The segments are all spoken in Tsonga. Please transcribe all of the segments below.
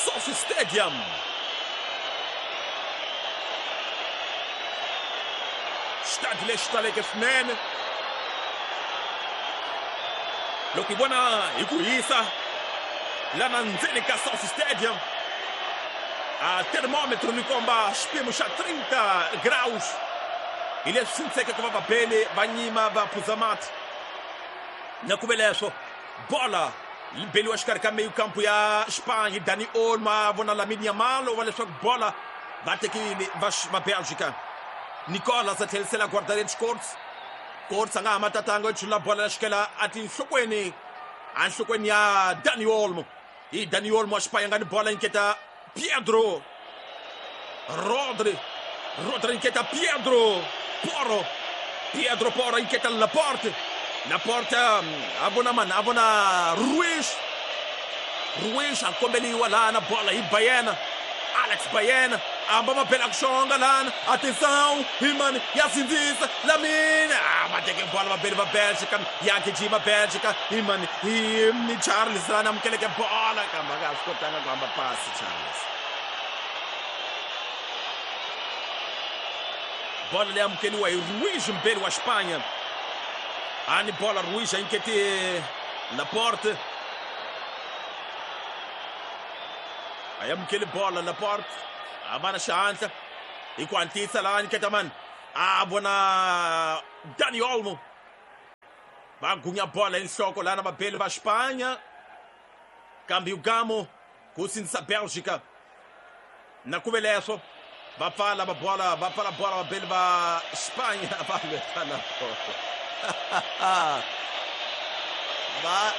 SoFi Stadium. Xitandi lexi taleke swinene loko hi vona hi ku hisa lana ndzeni ka SoFi Stadium, a thermometer ni komba xipimo xa 30 graus, hi leswi swi ntsheke ku va vabeli va nyima va phuza mati. Na ku ve leswo bola yi beliwa xikarhi ka meyu kampu ya Xipanya hi Dani Olmo, a vona Lamine Yamal wa leswaku bola va tekile va Belgica. Nicolas a tlherisela guarda-redes Courts. Courts a nga ha matatanga yo chulula bola ya xikela a tinhlokweni, enhlokweni ya Dani Olmo. Hi Dani Olmo wa Xipanya nga ni bola, nyiketa Pedro Rodri. Rodri nyiketa Pedro Porro. Pedro Porro nyiketa Laporte. Laporte a vona mani, a vona Ruiz. Ruiz a kombeliwa lana bola hi Bayena. Alex Bayena a hamba mabela ku xonga lana. Atenção, hi mani ya sindzisa Lamine. A va teke bola vabeli va Belgica, ya gijima Belgica. Hi mani hi Charles lana amukeleke bola kambe a nga ha swi kotanga ku hamba pasi Charles. Bola leyi amukeliwa hi Ruiz, mbeli wa Xipanya. A ni bola Ruiz a nyikete Laporte. A amukeli bola Laporte, a va na xihatla hi ku hatlisa laha nyiketa mani, a vona Dani Olmo. Va gunya bola hi nhloko lana vabeli va Xipanya, kambe Ugamo ku sindzisa Belgica. Na ku ve leswo va pfala va bola, va pfala bola vabeli va Xipanya, va lwetana bola.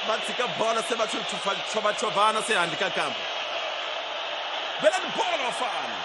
Va tshika bola se va chovachovana se handle ka kampo. Belani bola vafana.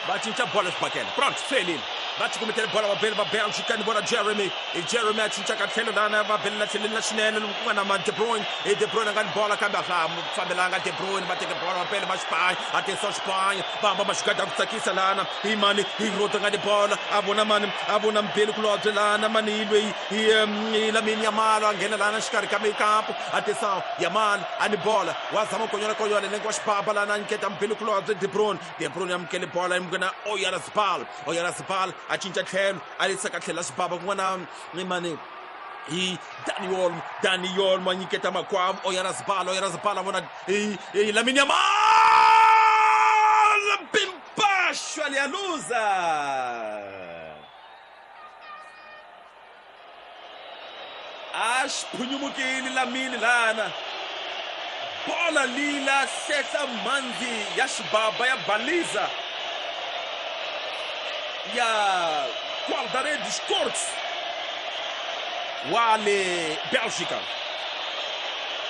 Va cinca bola xibakela. Pronto, swi helile. Va cukumetele bola vabeli va Belgica, ni vona Jeremy. I Jeremy a cinca ka tlhelo lana, va belela tlhelweni la xinene lomu ku nga na ma De Bruyne. I De Bruyne a nga ni bola kambe a swa ha fambelanga De Bruyne. Va teke bola vabeli va Xipanya. Atenção Xipanya, va hamba maxigada ku tsakisa lana. Hi mani hi Rodri nga ni bola, a vona mani, a vona mbeli kulobye lana mani hi loyi hi Lamine Yamal a nghena lana xikarhi ka mikampo. Atenção Yamal a ni bola, wa zama konyola konyola nenge wa xibaba lana, a nyiketa mbeli kulobye De Bruyne. De Bruyne amukele bola emukena Oyarzabal. Oyarzabal a cinca tlhelo, a yisa ka tlhelo la xibaba kun'wana ni mani hi Dani Olmo. Dani Olmo a nyiketa makwavo Oyarzabal. Oyarzabal a vona hi Lamine Yamal, bimpaxo alialuza. A xi phunyumukile Lamine lana. Bola lila hlehla mhandzi ya xibaba ya baliza ya guarda-redes Courts wa le Belgica.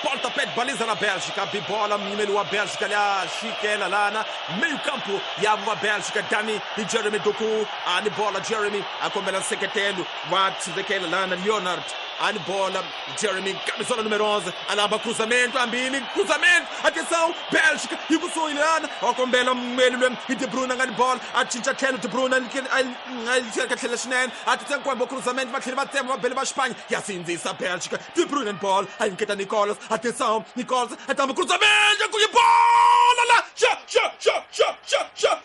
Pontapé de baliza na Bélgica, bibola mnyimeli wa Bélgica lya xikela lana meio campo ya va Bélgica. Dani hi Jeremy Doku a ni bola. Jeremy a kombela nseketelo wa tshivekela lana Leonard a ni bola. Jeremy camisola número 11 a lamba cruzamento, ambili cruzamento, atenção Bélgica hi kusuhi lana wa kombela mmeli lwe hi De Bruyne nga ni bola, a cinca tlhelo De Bruyne a ka tlhela xinene, a titsa nkwembo cruzamento, va tlhela va tsema vabeli va Xipanya, ya sindzisa Bélgica. De Bruyne ni bola a nyiketa Nicolas, atenção Nicolas a tamba cruzamento, ku yi bola la xa xa xa xa xa xa